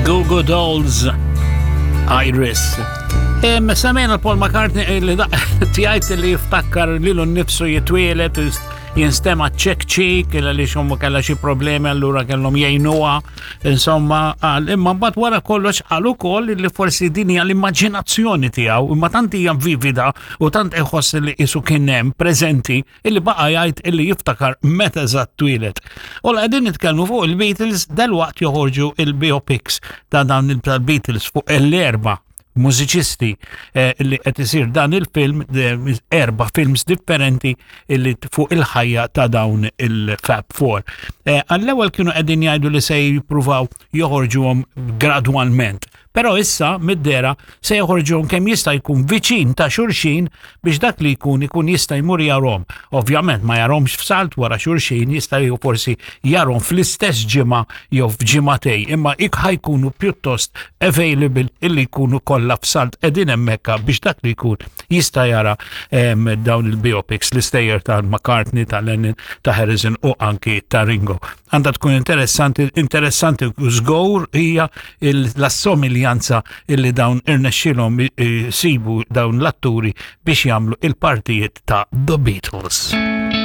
Goo Goo Dolls, Iris. Semmejna Paul McCartney li tjajt li jiftakkar lilu nnifsu jitwielet jinstema ċek ċik li xommu kella xi problemi allura kellhom jgħinuha insomma qal imma mbagħad wara kollox qal ukoll li forsi din hija l-immaġinazzjoni tiegħu imma tant hija vivida u tant iħoss li qisu kien hemm preżenti illi baqa' jgħid illi jiftakar meta eżatt twieled. U la qegħdin nitkellmu fuq il-Beatles dalwaqt joħorġu il-biopics ta' dawn il-Beatles fuq l-erba' mużiċisti eh, li qed isir dan il-film erba' films differenti illi fuq il-ħajja ta' dawn il-Fab Four. Eh, għall-ewwel kienu qegħdin jgħidu li se jippruvaw joħorġuhom gradwalment. Però issa mid-dehra se joħorġuhom kemm jista' jkun viċin ta' xulxin biex dak li jkun ikun jista' jmur jarhom. Ovvjament ma jarhomx f'salt wara xulxin, jista' jieħu forsi jarhom fl-istess ġimgħa jew f'ġimagħtej, imma ik ħajkunu pjuttost available illi jkunu kollha f'salt qegħdin hemmhekk biex dak li jkun jista' jara ehm, dawn il-biopics l-istejjer ta' McCartney, ta' Lennon, ta' Harrison u anki ta' Ringo. Għandha tkun interessanti, interessanti u żgur hija l-assomiljanza illi dawn irnexxilhom sibu dawn l-atturi biex jagħmlu il-partijiet ta' The Beatles.